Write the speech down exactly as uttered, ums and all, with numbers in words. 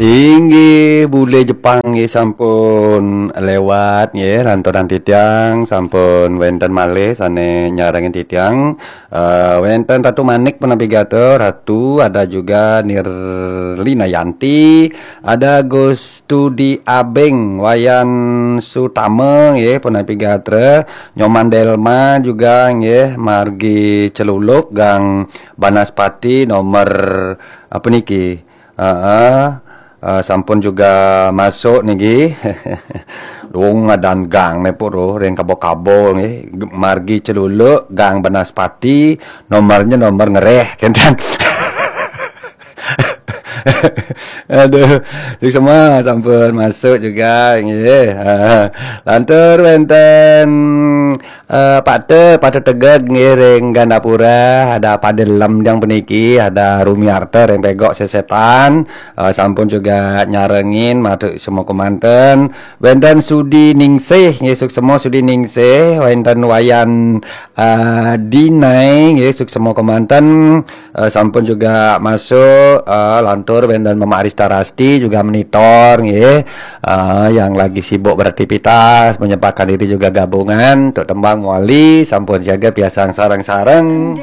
Inggih, bule Jepang nggih sampun lewat nggih, lanturan titiang sampun wenten malih sane nyarengin titiang. Eh, wenten Ratu Manik punapi gatra, Ratu, ada juga Nirlina Yanti, ada Gus Tudi Abeng, Wayan Sutama nggih punapi gatra, Nyoman Delma juga nggih, margi Celuluk, Gang Banaspati, nomor apa niki? Heeh. Eh, sampun juga masuk niki. Dong ngadan gang ne pun ring kabo-kabo nggih. Margi Celuluk, Gang Banaspati, nomornya nomor ngereh, kenten. Aduh, suksma sampun masuk juga nggih. Ha, lantur wenten, eh, Pak Te, Pak Te Tegeg nggih ring Gandapura, ada Pak Delem yang puniki, ada Rumiarta ring Pegok Sesetan, eh, sampun juga nyarengin, matur semua kemanten. Wenten Sudi Ningsih nggih, suksma Sudi Ningsih, wenten Wayan, eh, Dinai nggih, suksma kemanten. Eh, sampun juga masuk, eh, lantur wenten Mama Arista Rasti juga monitor nggih. Eh, yang lagi sibuk beraktivitas, menyempatkan diri juga gabungan untuk tembang wali, sampun siaga piasang sareng-sareng.